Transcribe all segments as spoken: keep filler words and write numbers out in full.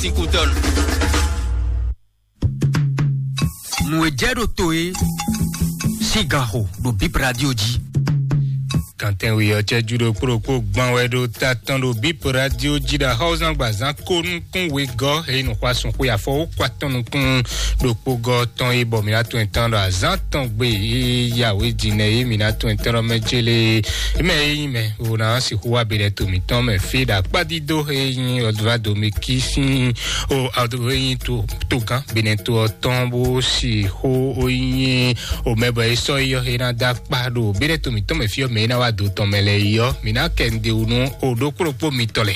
Ikutɔnu. Nǔ e jɛ ɖo to e sín ganxo ɖo Bip Radio jí. Kantɛn we ɔ́ cɛ́jú ɖokpó ɖokpó gbɔn wɛ ɖo ta tɔn ɖo Bip Radio jí ɖo axɔ́zán gbazán kó nukún wegɔ́ e nǔxwasun xwe afɔ wó kɔ atɔn nukún ɖokpó gɔ́ tɔn e bɔ mǐ ná tɔn tán ɖo azán tɔn gbe e ya wé jinɛ e mǐ ná tɔn tán ɖɔ mɛ jélé e mɛ e nyí mɛ o ná sixú wá be ɖɛ to mǐtɔn mɛ fí ɖo akpádídó e nyí ɔdvá domikí sín o ɔdvá e nyí to togán benɛ to ɔ́ tɔn bó sixú o nyí o mɛ bɔ e sɔ́ yi ɔ́ e ná dó akpá ɖo be ɖɛ to mǐtɔn mɛ fí ɔ́ mɛ e ná wá do tɔn mɛ lɛ yi ɔ́ mǐ ná kɛ nǔɖé wú nú o ɖokpó ɖokpó mitɔn lɛ.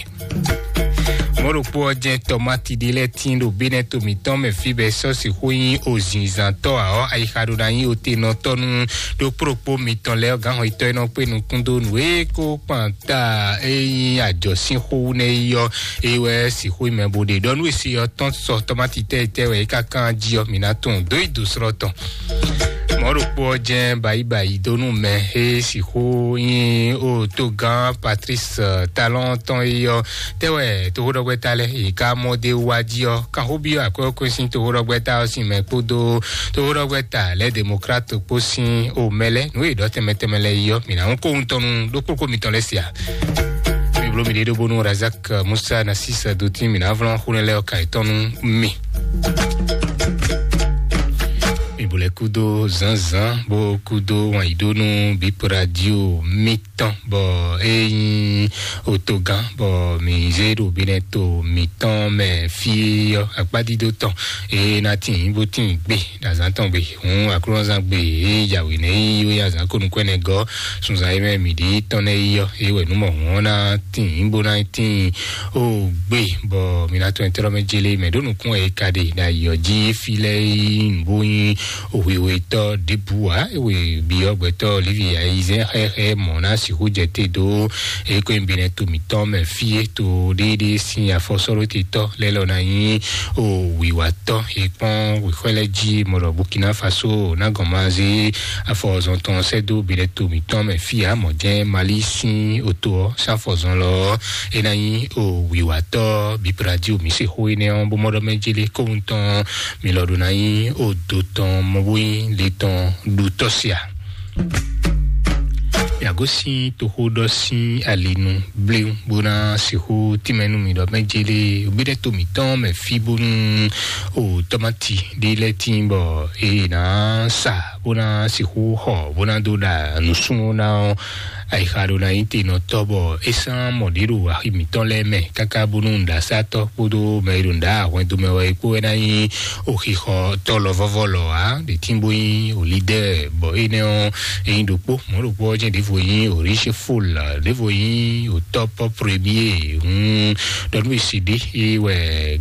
Mɔ̌ ɖokpó ɔ́ jɛ́n tɔmáti ɖé lɛ́ɛ tín ɖo bénɛ́ to mǐtɔn mɛ fí bɔ é sɔ́ sixú nyí ozinzantɔ́ ǎ ɔ́, ayixa ɖó ná nyí otenɔtɔ́ nú ɖokpó ɖokpó mitɔn lɛ́ɛ ɔ́, gǎnhɔnyitɔ́ e nɔ kpé nukún dó nǔ e kó kpan ta e nyí ajɔ̌ sín xó wú nɛ́ é ɔ́, é wɛ sixú nyí mɛ bó ɖe ɖɔ nú e se ɔ́ tɔ́n sɔ tɔmáti tɛ́ e tɛ́ wɛ é ka kán jí ɔ́, mǐ ná tunwun dó yi dǒ slɔ́ tɔn. Mɔ̌ ɖokpó ɔ́ jɛ́n bayíbayí dó nú mɛ e sixú nyí o togán Patrice Talon tɔn é ɔ́, tɛ́ wɛ toxóɖɔgbɛ́ta lɛ́ɛ yě ká mɔ dó wá jí ɔ́, kanxóbyɔ́ akwɛ́ ɔ́ sín toxóɖɔgbɛ́ta ɔ́ sín mɛ kpódó toxóɖɔgbɛ́ta lɛ́ɛ Demokrat kpó sín o mɛ lɛ́ɛ nǔ e ɖɔ tɛnmɛ tɛnmɛ lɛ́ɛ yi ɔ́, mǐ ná ŋkó wuntɔn nú ɖokpó kó mitɔn lɛ́ɛ se ǎ. Mi bló mi ɖe ɖó bónú Razak Musa ná sísɛ dó tín mǐ ná vlɔ́n xúnɛ lɛ́ɛ ɔ́ ka yětɔn nú mi. Mi bo lɛ́ kúdó zǎnzǎn bó kúdó wǎnyíɖónú Bip Radio mitɔn bɔ é nyí otogán bɔ mǐ zé ɖo bínɛ́ to mǐtɔn mɛ fí ɔ́ akpádídó tɔn é ná tín bó tín gbé ɖo azǎn tɔn gbe. Hǔn aklúnɔzán gbe e yǎwǐ nɛ́ yí wé azǎn ko nukún ɛnɛ gɔ́ sunzan e mɛ mǐ ɖi tɔn nɛ́ yí ɔ́, é wɛ nǔ mɔ hǔn ɔ́ ná tíin bó ná tíin ó gbé, bɔ mi ná tɔn tɛ́ mɛ jélé mɛ ɖó nukún wɛ é ka ɖe ɖo ayǐ ɔ́ jí fí lɛ́ɛ yí nǔ bó nyí hwehwetɔ́ ɖěbǔ ǎ. É wɛ byɔ́ gbɛtɔ́ Livi ayizɛ́n xɛxɛ mɔ̌ ná sixú jɛ te dó é kó nyi binɛ to mǐtɔn mɛ fí é to ɖéɖé sín afɔsɔ́ɖótetɔ́ lɛ́ɛ lɔ ná nyí o wǐwatɔ́ e kpɔ́n wěxwɛ́ lɛ́ɛ jí mɔ ɖɔ Burkina Faso ná gɔn ma zé afɔzɔn tɔn sɛ́ dó binɛ to mǐtɔn mɛ fí ǎ. Mɔ̌ jɛ́n Mali sín oto ɔ́ sín afɔzɔn lɔ ɔ́, é ná nyí o wǐwatɔ́ Bip Radio mǐ se xó énɛ́ ɔ́ bó mɔ ɖɔ mɛ jélé kóhun tɔn mi lɔ ɖó ná nyí o do tɔn mɔ bó nyí le tɔn ɖu tɔ́ sia. Mǐ gosín toxó ɖɔ sín ali nu bléwún bó ná sixú tínmɛ nú mì ɖɔ mɛ jélé gbéɖɛ́ to mǐtɔn mɛ fí bónú o tɔ́máti ɖé lɛ́ɛ tín bɔ è nǎ sa bó ná sixú xɔ bó ná dó ɖa nǔsúnnú ná ɔ́. Ayixa ɖo ná nyí tenɔtɔ́ bɔ é sán mɔ ɖě ɖo axi mǐtɔn lɛ́ɛ mɛ káká bónú nǔɖasátɔ́ kpódó mɛ e ɖo nǔɖa hwɛndo mɛ wɛ é kpó wɛ ná nyí oxixɔtɔ́ lɔ vɔ́vɔ́ lɔ ǎ. Ɖě tín bó nyí o lidɛ́ɛ bɔ énɛ́ ɔ́ é nyí ɖokpó. Mɔ̌ ɖokpó ɔ́ jɛ́n ɖěvo nyí o Richeful, ɖěvo nyí o Top Premier. Hun ɖɔ nú esi ɖé é wɛ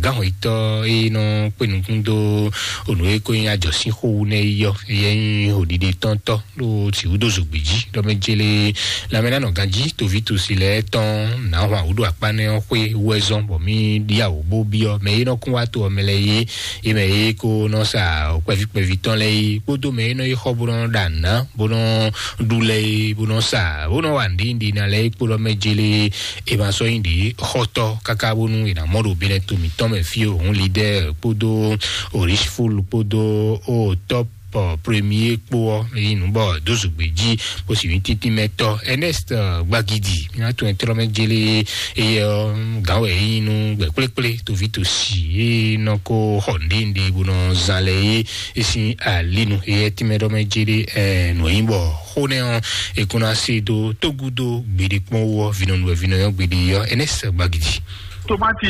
gǎnhɔyítɔ́ é nɔ kpé nukún dó o nǔ e ko nyí ajɔ̌sínxó wú nɛ́ é yɔ é nyí o ɖiɖe tɔ́ntɔ́ ɖo sǐwúdó zǒgbí jí ɖɔ mɛ jélé lanmɛ ná nɔ ganjí toví tosi lɛ́ɛ tɔn nǎ hwan wǔ ɖo akpá nɛ́ ɔ́ xwé wú wɛ zɔ́n bɔ mí ɖíyàwó bó byɔ́ mɛ e nɔ kún wá to ɔ́ mɛ lɛ́ɛ é é mɛ e ko nɔ sa kpɛví kpɛví tɔn lɛ́ɛ é kpódó mɛ e nɔ yi xɔ bó nɔ ɖa nǔ ná bó nɔ ɖu lɛ́ɛ é bó nɔ sa bó nɔ wa nǔɖiɖi ná lɛ́ɛ é kpódó mɛ jélé é ma sɔ́ nyí ɖě xɔtɔ́ káká bónú è nǎ mɔ ɖo bínɛ to mǐtɔn mɛ fí o hǔn lidɛ́ɛ kpódó o Richeful kpódó o Top Premier kpó ɔ́, é nyí nǔ bɔ dó zogbe jí bó sì nyí tíntín mɛ tɔ́ Ernest Gbagidi mi ná tún ɛ tlɔ́ mɛ jélé éyɛ ɔ́ gǎn wɛ é nyí nú gbɛ kplékplé toví tosi é nɔ ko xɔ nǔɖénúɖé bó nɔ zán lɛ é é sín alínu éyɛ tínmɛ ɖɔ mɛ jélé ɛ nǔ e nyí bɔ xó nɛ́ ɔ́ è kún ná se dó tógúdó gbeɖé kpɔ́n wú ɔ́ vinɔnu wɛ vinɔyɔ́ gbeɖé ɔ́ Ernest Gbagidi. Tomati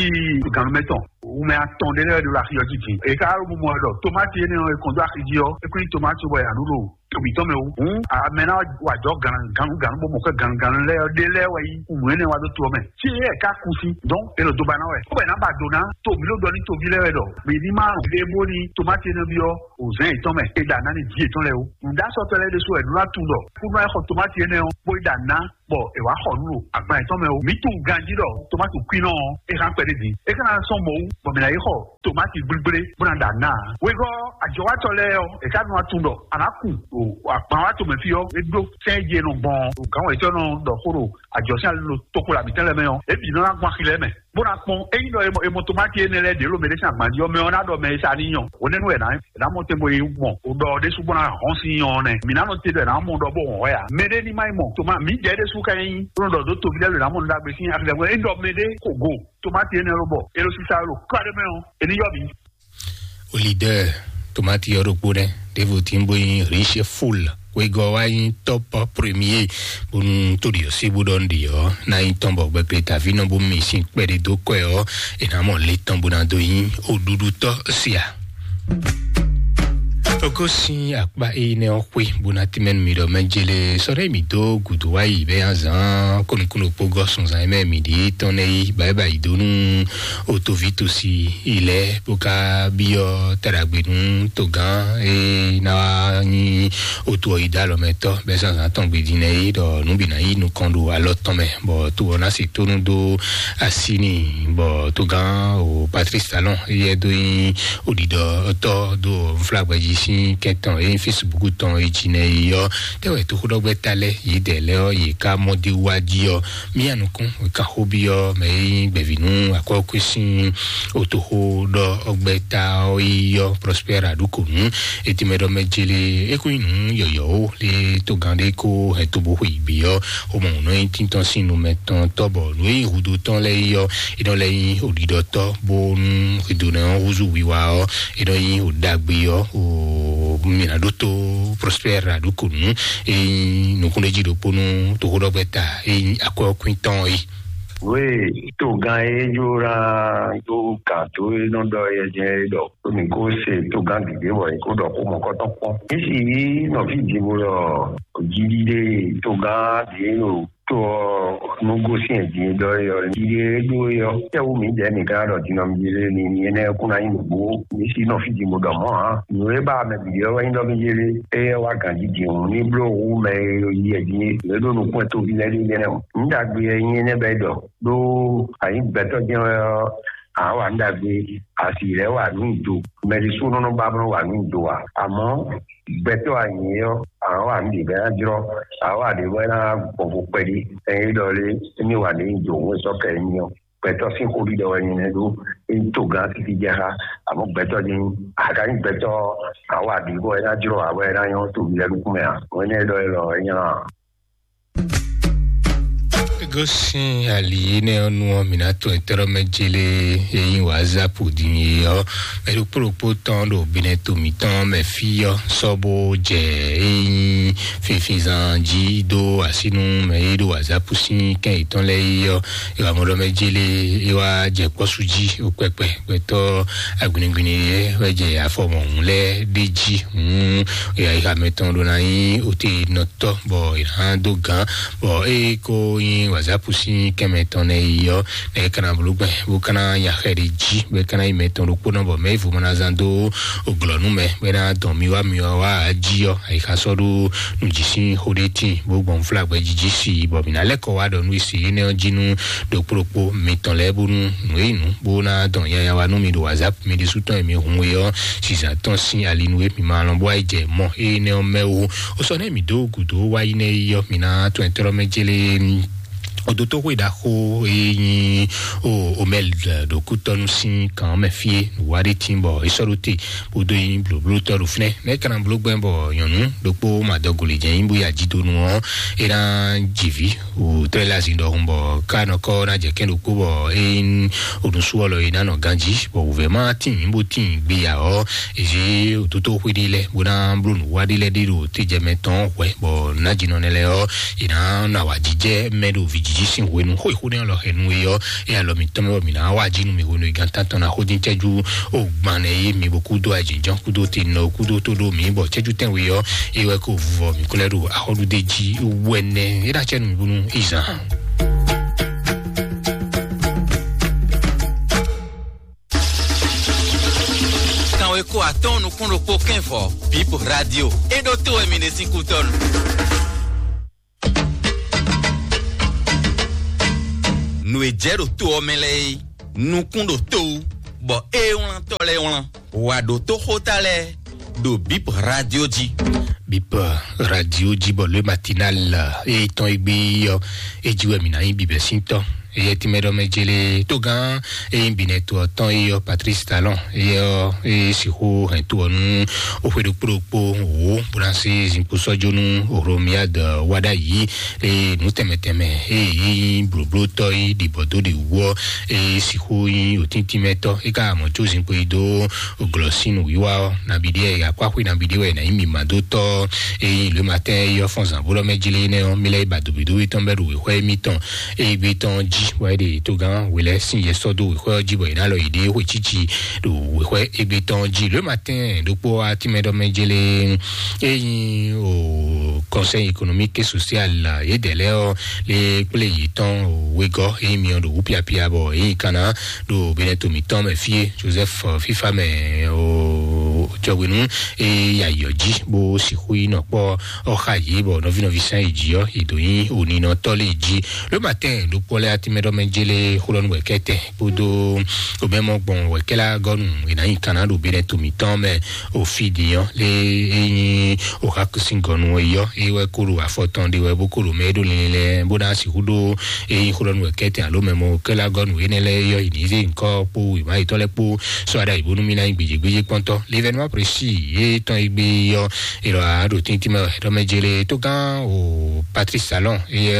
gǎnmɛ tɔn wumɛ atɔn ɖé lɛ́ɛ ɖo axi ɔ́ jí din. È ka ɖo mɔ ɖɔ tomati énɛ́ ɔ́ è kɔn dó axi jí ɔ́, é kún nyí tomati bɔ è nǎ ɖu ɖo to mǐtɔn mɛ wú. Hǔn amɛ ná wa jɔ gǎnugǎnu bó mɔ xwé gǎnugǎnu lɛ́ɛ ɔ́ ɖé lɛ́ɛ wɛ nyí nǔ énɛ́ wá ɖó to ɔ́ mɛ. Fí é ká kú sín, dɔn è nɔ do ba ná wɛ. Ó bɛ ná ba do ná to mǐ ɖó ɖɔ ní toví lɛ́ɛ wɛ ɖɔ mǐ ní má ɖe bó ní tomati énɛ́ byɔ́ òzɛ́n yětɔn mɛ, è ɖa ná ní jǐ yětɔn lɛ́ɛ wú. Nǔɖásɔtɔ́ lɛ́ɛ ɖésú wɛ nú ná tunwun ɖɔ kúnú wá xɔ tomati énɛ́ ɔ́, bó yi ɖa ná bɔ è wǎ xɔ nǔ ɖo agban yětɔn mɛ ó. Mǐ tunwun ganjí ɖɔ tomati kwínɔ ɔ́, é hán kpɛɖé din. É ka ná sɔ́ mɔ̌ wú, bɔ mǐ ná yi xɔ tomati gblígblé bó ná ɖa ná ǎ. Wegɔ́ ajɔwátɔ́ lɛ́ɛ ɔ́, è ká nɔ wá tunwun ɖɔ a nǎ kun o agban wá tomɛ fí ɔ́, é ɖó sɛ́n e jí è nɔ gbɔn o gǎn wɛ̌tɔ́ nɔ ɖɔ xó ɖo Ajɔ sín ali lo toxo la mǐtɛn lɛ́ɛ mɛ ɔ́, é bǐ nɔ ná gbɔn axi lɛ́ɛ mɛ, bó ná kpɔ́n. Ényí ɖɔ è mɔ tomati énɛ́ lɛ́ɛ ɖě lo mɛ ɖé sín agban jí ɔ́, mɛ ɔ́ ná ɖɔ mɛ e sa ní nyɔ. Hwenɛ́nu wɛ ná ná mɔ tɛn bo yi mɔ o ɖɔ ɔ́ ɖésú bó ná hɔn sín nyɔ ɔ́ nɛ́. Mǐ ná nɔ te ɖɔ è nǎ mɔ ɖɔ bó hɔn hwɛ ǎ. Mɛ ɖé ní má yi mɔ toma mǐ jɛ ɖésú ká nyí bó nɔ ɖɔ dó toví lɛ́ɛ ɖo ná mɔ nǔ ɖagbe sín axi lɛ́ɛ mɛ. Ényí ɖɔ mɛ ɖé ko go tomati énɛ́ ló bɔ é ɖo sísá ɖo kɔ́ɖé mɛ ɔ́, è ní yɔ mǐ. Olidɛ tomati ɔ́ ɖokpó nɛ́ ɖěvo tí ń bó nyí Riche Full wegɔ́ wá nyí top premier bónú tóɖi ɔ́ sí bó ɖɔ nɖi ɔ́ ná nyí tɔn bɔ gbɛkple taví nɔ bó mi sín kpɛɖé dó kɔɛ ɔ́ è nǎ mɔ lé tɔn bó ná dó nyí oɖuɖutɔ́ sia. Tɔgɔ́ sín akpá énɛ́ ɔ́ xwé bó ná tínmɛ nú mi ɖɔ mɛ jele sɔ́ ɖé mǐ dó gǔdo wá yi bɛ́ azǎn kónukúnukpó gɔ́ sunzan e mɛ mǐ ɖíe tɔn nɛ́ yí báyìí báyìí dó nú otoví tosi ilẹ̀ bó ká byɔ́ taɖagbe nú togán e ná wá nyí otu ɔ́ yi dó alɔmɛtɔ́ bɛ́ zǎnzǎn tɔn gbe din nɛ́ é ɖɔ nǔ bǐ ná yi nukɔn ɖo alɔ tɔn mɛ bɔ to ɔ́ ná se tónú dó así n'i bɔ togán o Patrice Talon éyɛ́ dó nyí oɖiɖɔtɔ́ dó nflágbɛjí sín kɛntɔn e nyí Facebook tɔn e jí nɛ́ é ɔ́ tɛ́wɛ toxóɖɔgbɛ́ta lɛ́ɛ yědɛɛ lɛ́ɛ ɔ́ yě ká mɔ dó wá jí ɔ́. Mía nukún kan xó byɔ́ mɛ e nyí gbɛ̌ví nú akwɛ́kú sín otoxó ɖɔ ɔgbɛ́ta ɔ́ yi ɔ́ Prospère Aɖukonu. Etɛmɛ ɖɔ mɛ jele é kó nyí nǔ yɔ̌yɔ́ ó lé togán ɖé kó hɛn tobo xwe yi bǐ ɔ́ xomɔ nǔ nɔ nyí tíntɔ́n sín nu mɛ tɔn tɔ́ bɔ nǔ e nyí hudo tɔn lɛ́ɛ yi ɔ́ é nɔ lɛ́ nyí oɖiɖɔtɔ́ bónú hwedó nɛ ɔ́ húzú wiwa ɔ́ é nɔ nyí oɖagbe ɔ́ o mǐ ná ɖótó Prospère Aɖukonu e nyí nukúnɖéjí ɖokpó nú toxóɖɔgbɛ́ta e nyí akwɛ́ ɔ́ kwín tɔn é. Wéè togán e jó ná dó gǎn dó e nɔ ɖɔ yɛ jɛ é ɖɔ mǐ kó se togán gěgé bɔ è kó ɖɔ xó mɔ̌kɔtɔn kpɔ́n. Mǐ si yí nɔví Jibo ɖɔ jiɖiɖe togán ɖě ɖo to ɔ́ nú gosín din ɖɔ é ɔ́, jiɖiɖe e ɖó é ɔ́, tɛ́wú mǐdɛɛ mǐ ka ɖɔ din ɔ́, mǐ ɖe ni ni énɛ́ kún ná nyí nǔgbó. Mǐ si nɔví Jibo ɖɔ mɔ̌ ǎ. Nǔ e ba mɛ bǐ ɔ́ wɛ nyí ɖɔ mí yé ɖé. Éyɛ́ wá ganjí din hǔn ní bló hú mɛ e yi ɛ din é. Nǔ e ɖó nukún ɛ tóví lɛ́ɛ ɖé jɛ́nɛ o. Nǔ ɖagbe wɛ nyí énɛ́ bɛ́ ɖɔ. Ɖó a nyǐ gbɛtɔ́ jɛ́n wɛ ɔ́, a nǎ wa nǔ ɖagbe, a sì lɛ́ wa nǔ nyi do. Mɛ ɖésúnɔ nɔ ba bó nɔ wa nǔ nyi do ǎ. Amɔ̌ gbɛtɔ́ a nyǐ é ɔ́, a nǎ wa nǔ ɖě bɔ é ná jlɔ́, a nǎ wa ɖě bɔ é ná gbɔn vo kpɛɖí. Ɛn é ɖɔ lé, émí wa nǔ nyi do hǔn e sɔ́ kɛ émí ɔ́. Gbɛtɔ́ sín xó ɖiɖɔ wɛ nyɛ nɛ́ ɖó, é nyí togán títí jɛ xá, amɔ̌ gbɛtɔ́ jɛ́n nyí. A ka nyí gbɛtɔ́, a nǎ wa ɖě bɔ é ná jlɔ́ ǎ bɔ é ná nyɔ́ toví lɛ́ɛ nukún mɛ ǎ. Hwɛ̌nɛ́ é ɖɔ élɔ́ é nyí lɔ ǎ. Gosín ali énɛ́ ɔ́ nu ɔ́, mǐ ná tɔn etɛ́ɖɔ́ mɛ jélé e nyí WhatsApp din é ɔ́, mɛ ɖokpó ɖokpó tɔn ɖo Benɛto mǐtɔn mɛ fí ɔ́ sɔ́ bó jɛ e nyí finfinzan jí dó así nú mɛ e ɖo WhatsApp sín kɛn yětɔn lɛ́ɛ é ɔ́, é wǎ mɔ ɖɔ mɛ jélé é wá jɛ kpɔ́sú jí ó kpɛkpɛ. Gbɛtɔ́ agbinigbini lɛ́ɛ wɛ jɛ afɔ mɔ̌hun lɛ́ɛ ɖ'é jí. Hǔn ayixa mɛtɔn ɖó ná nyí otenɔtɔ́ bɔ è nǎ dó gǎn, bɔ ée ko nyí wǎzápu sín kɛnmɛ tɔn nɛ́ yi ɔ́, nɛ́ é ka ná bló gbɛn bó ka ná nya xɛ ɖé jí, bɔ é ka ná nyí mɛtɔn ɖokpónɔ, bɔ mɛ e vo ma ná zán dó glɔ̌ nú mɛ, bɔ é ná dɔn mi wá mi wá wá jí ɔ́, ayixa sɔ́ ɖó nǔjí sín xó ɖé tíin, bó gbɔn fúlagbɛ jí jí si, bɔ mǐ ná lɛ́ kɔ wá ɖɔ nú e se énɛ́ ɔ́ jí nú ɖokpó ɖokpó mitɔn lɛ́ɛ, bónú nǔ e nyí nǔ bó ná dɔn nyanya wá nú mi ɖo WhatsApp mi ɖésú tɔn e mi hun e ɔ́, sisa tɔn sín ali nú e mi ma lɔn bó wá yi jɛ mɔ énɛ́ ɔ́ mɛ ó. Ó sɔ́ nɛ́ mǐ dó gǔdo wá yi nɛ́ yi ɔ́, mi ná tɔn ɛ tlɔ́ mɛ jélé. Odotoxwe ɖaxó e nyí o omɛl ɖo kútɔnu sín kan mɛ fie nǔwa ɖé tín bɔ é sɔ́ ɖó te bó dó nyí blǒblótɔ́ ɖo fínɛ́. Nɛ́ é ka ná bló gbɛn bɔ nyɔ̌nu ɖokpó madɔgoli jɛ nyí bó yi ajidonu ɔ́, é ná ji vǐ wǔtrɛ́ lé azin ɖɔhun bɔ ká nɔ kɔ ná jɛ kɛ́n ɖokpó bɔ é nyí onusu ɔlɔ é ná nɔ ganjí bɔ wǔvɛ́ má tín bó tín gbeya ɔ́, é zé ototoxwe ɖé lɛ́ɛ bó ná bló nǔwa ɖé lɛ́ɛ ɖé ɖo tejɛmɛ tɔn hwɛ bɔ nájínɔ nɛ lɛ́ɛ ɔ́, é ná nɔ awǎjijɛ mɛ ɖo vǐjiji sín hwenu xó é xó nɛ́ ɔlɔ hɛnu é ɔ́, é alɔ mǐtɔn mɛ bɔ mǐ ná wá jí nú mǐ hwenu e gan tántɔn ná xó dín cɛ́jú o gban nɛ yé mi bó kúdó ajínjɔ́n kúdó te nɔ kúdó tó ɖó mǐ bɔ cɛ́jú tɛ́nwe ɔ́, é wɛ kó vuvɔ mǐ kúlɛ́ ɖo axɔ́ɖúdé jí wɛnɛ é ná cɛ nú mǐ bónú izan. Kanwe ko atɔn nukún ɖokpó kɛnvɔ Bib Radio. É ɖó tó wɛ mi ɖe sín kútɔ́nu. Nǔ e jɛ ɖo to ɔ́ mɛ lɛ́ɛ é, nukún ɖo to wú, bɔ é wlántɔ́ lɛ́ɛ wlán. Wǎ ɖótó xóta lɛ́ɛ, ɖo Bip Radio jí. Bip Radio jí bɔ le matinal, e tɔn egbe ɔ, e jí wɛ mi na nyi bibɛ sín tɔ. Eye tìmɛ ɖɔ mɛ jele tó gán, eye binɛ to ɔtɔn eye ɔ Patrice Talon eye ɔ eye sixu hɛn to ɔnu, o xwe ɖokpo ɖokpo wo bó ná se zinkpo sɔjonu Romiad wada yi. Eye nu tɛmɛ tɛmɛ eye yi blóblótɔ yi ɖibɔ dó ɖi wɔ, eye sixu yi otíntímɛtɔ yi ka mɔ tso zinkpo yi dó glɔsinu wiwa ɔ nabi ɖe ya kó axwe nabi ɖe wɛ na yi mi ma dó tɔ. Eye le matin yi ɔ fɔn zan bó ɖɔ mɛ jele nɛ ɔ mi lɛ yi ba dobi dobi tɔn bɛ ɖo wexɔ yi mi tɔn. Eye gbe tɔn ji wɛ ɖe to gán wele sin yɛ sɔ do wexɔ ji bɔ yi na lɔ yi ɖe xwe tsitsi ɖo wexɔ egbe tɔn ji le matin ɖokpo atimɛ ɖɔ mɛ jele. Eye o conseil économique et social yedɛlɛ ɔ le kple yi tɔn wegɔ eye mi ɔ ɖo wu piapia bɔ eye kana ɖo benɛ to mitɔn mɛ fie Joseph, eh, fifa mɛ o jɔwenu e yayɔ ji bó sixu yi nɔ kpɔ ɔxa yi bɔ nɔvi nɔvi san yi ji ɔ yi do yi oninɔ tɔ le ji. Le matin ɖokpɔ lɛ atimɛ ɖɔ mɛ jele xulɔnu wɛ kɛtɛ kpodo omɛmɔ gbɔn wɛ kɛla gɔnu ina yi kana ɖo benɛ to mitɔn mɛ o fi di ɔ le eyin o xa kusin gɔnu yɔ e wɛ kolo afɔtɔn de wɛ bó kolo mɛ ɖo lɛlɛ bó na sixu ɖo eyin xulɔnu wɛ kɛtɛ alo mɛ mɔ kɛla gɔnu enɛ lɛ yɔ yi ni ze nkɔ kpo wema yitɔ lɛ kpo sɔ ada yi bónú mi na yi gbedzegbedze kpɔntɔ l'événement précis ye tɔn yi gbe yɔ. Ero a ɖo tíntín mɛ ɖɔ mɛ jele tó gán o Patrice Talon ye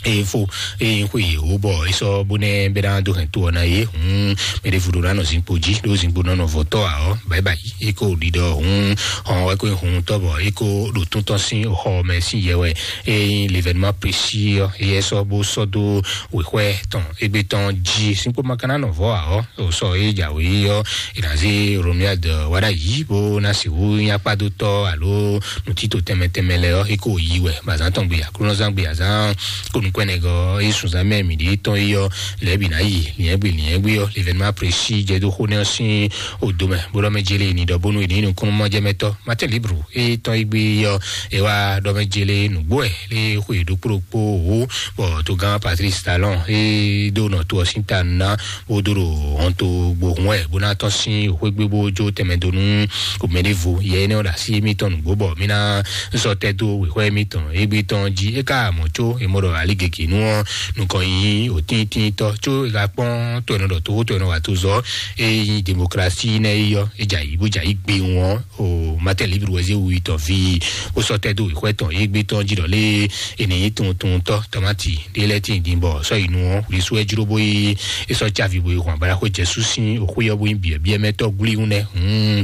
eye fo eye xwe ye wo bɔ esɔ bónɛ bɛ na do hɛn to ɔna ye hun mɛ ɖe vudo na nɔ zinkpo ji ɖo zinkpo nɔ nɔ vɔtɔ a ɔ bye bye. Eko ɖiɖɔ hun hɔn wɛ ko hun tɔ bɔ eko ɖo tún tɔn sin xɔ mɛ sin yɛ wɛ. Eye l'événement précis ɔ eye sɔ bó sɔ dó wexwɛ tɔn egbe tɔn ji sinkpo makana nɔ vɔ a ɔ o sɔ eye dza wɛ ɔ ina ze Romuald wada yi bó na si wu nyakpadotɔ alo nutito tɛmɛ tɛmɛ lɛ ɔ eko yi wɛ bazan tɔn gbe aklunɔzan gbe azan ko nukɔnɛgɔ e sunzan mɛ mi ɖe tɔn yi ɔ lɛ bi na yi liɛn gbe liɛn gbe ɔ l'événement précis jɛ do xo nɛ ɔ sin odo mɛ bó ɖɔ mɛ jele ni ɖɔ bónú ni nukúnnú mɔ jɛ mɛ tɔ matin libre e tɔn yi gbe ɔ e wa ɖɔ mɛ jele nugbo ɛ le xwe ɖokpo ɖokpo wo bɔ to gán Patrice Talon e do nɔ to ɔ sin ta na bó dó ɖo hɔnto gbohun wɛ bó ná tɔ́n sín xwégbé bó jó tɛmɛ dó nú omɛɖevo yɛ énɛ́ ɔ́ ɖo así émítɔn nǔgbó bɔ mí ná sɔ́ tɛ́ dó wěxwɛ́ émítɔn égbé tɔn jí é ká mɔ̌ có é mɔ ɖɔ alí gěgé nú ɔ́ nukɔn nyí òtíntíntɔ́ có é ka kpɔ́n tó ɛnɛ ɖɔ tó tó ɛnɛ wà tó zɔ é nyí demokrasi nɛ́ é yɔ é dza yí bó dza yí gbe wọn o Martin Libre wɛ zé wu yi tɔn vi bó sɔ́ tɛ́ dó wěxwɛ́ tɔn égbé tɔn jí ɖɔ lé ènìyí tuntun tɔ́ tɔmátì ɖé lɛ́ tín dín bɔ sɔ́ yi nu ɔ́ wlí sú ɛ jló bó yi é sɔ́ cávi bó yi hɔn abala xó jɛ sú sín òxú yɔ bó yi biɛ biɛ mɛ tɔ́ glí ŋu nɛ. Hmm.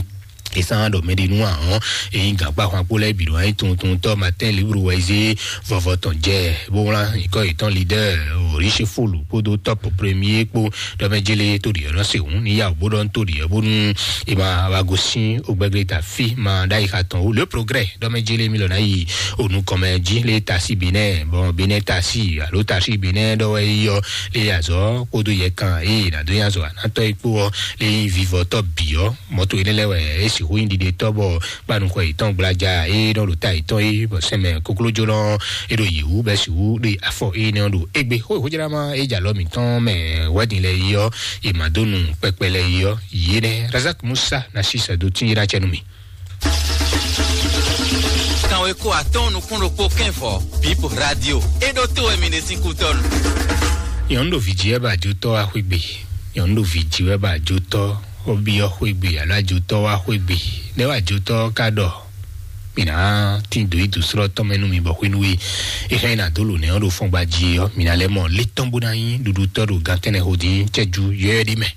Ìsán ɖɔ mɛ ɖi nú ahọ́n èyí gàgbá hwan kpó lɛ́ bǐ ɖo ayé tuntun tɔ́ Martin Libre wɛ zé vɔvɔ tɔn jɛ bó wlán ìkọ́ ìtàn leader Oríṣi Fòlù kpódó top premier kpó ɖɔmɛjélé tó ɖi ɔ̀nà sèwún níyàwó bó ɖɔ tó ɖi ɔ̀bónú ìmọ̀ àwàgò sín ògbẹ́gbẹ́ tà fí máa dá ìka tán ó le progrès ɖɔmɛjélé mi lọ́nà yìí ònú kọ́mẹ jí lé ta sí Benin bɔn Benin ta sí alo ta sí Benin ɖɔ wɛ yíyɔ lé azɔ kpódó yɛ kan eye nàdó yín azɔ ànátọ́ ikpó ɔ lé yín vivɔtɔ bì ɔ mɔto yi lɛ wɛ esi hu yin ɖiɖe tɔ bɔ kpanu xɔ yitɔn gblaja eye nɔ ɖo ta yitɔn yi bɔ sɛmɛ koklójó nɔ e ɖo yi wu bɛ si wu ɖe afɔ eye nɔ ɖo egbe xo xojara ma e dza lɔ mitɔn mɛ wɛdin lɛ yi ɔ e ma dó nu kpɛkpɛ lɛ yi ɔ yi nɛ Razak Musa na si sɛ do tin yi na cɛ nu mi. Kanwe ko atɔn nukun ɖokpo kɛn vɔ Bip Radio e ɖo to wɛ mi ɖe sin kutɔnu. Nyɔnu ɖo vi dzi wɛ ba jo tɔ wa xwegbe. Nyɔnu ɖo vi dzi wɛ ba jo tɔ obi ɔ xwegbe alo ajo tɔ wa xwegbe. Ne wa jo tɔ ka ɖɔ mi na tin do yi do srɔ tɔn mɛ nu mi bɔ xwenu we. Exa yi na do lo nɛ ɔ ɖo fɔngba dzi ɔ mi na lɛ mɔ le tɔn bo na nyi ɖuɖu tɔ ɖo gan tɛnɛ ho din cɛ ju yɔ yɔ ɖi mɛ.